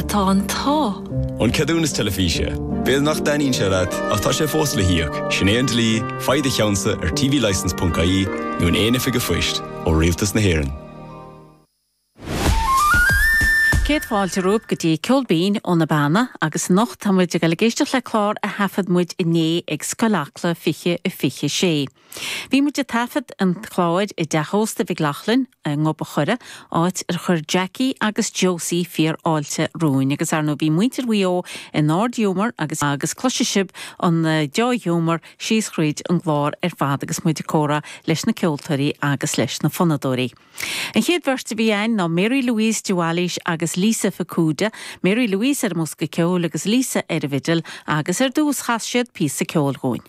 tá an t-ádh. An Ceadúnas Teilifíse. B'fhéidir nach dtaitníonn sé leat, ach tá sé fós le híoc. Sin é an dlí, faigh do cheannsa ar tvlicence.ie nó in aon oifig an phoist ó Rialtas na hÉireann. Céad fáilte romhaibh go dtí Ceol Binn ó na Beanna agus anocht tá muid ag dul ag éisteacht le clár a thaifead muid inné ag Scoil Acla 2026. Bhí muid ag taifead an chláir i dteach ósta Mhic Lochlainn i nGob a' Choire, áit ar chuir Jackie agus Josie fíor-fháilte romhainn agus ar ndóigh bhí muintir Mhaigh Eo in ard-ghiúmar agus agus cloisfidh sibh an deá-ghiúmar síos thríd an gclár ar fad agus muid ag comhrá leis na ceoltóirí agus leis na fonnadóirí. An chéad bheirt a bhí a'inn ná Mary Louise de Bhailís agus Lisa Fukuda, Mary Louise ar an mbosca ceoil agus Lisa ar an bhfidil agus ar dtús chas siad píosa ceoil dhúinn.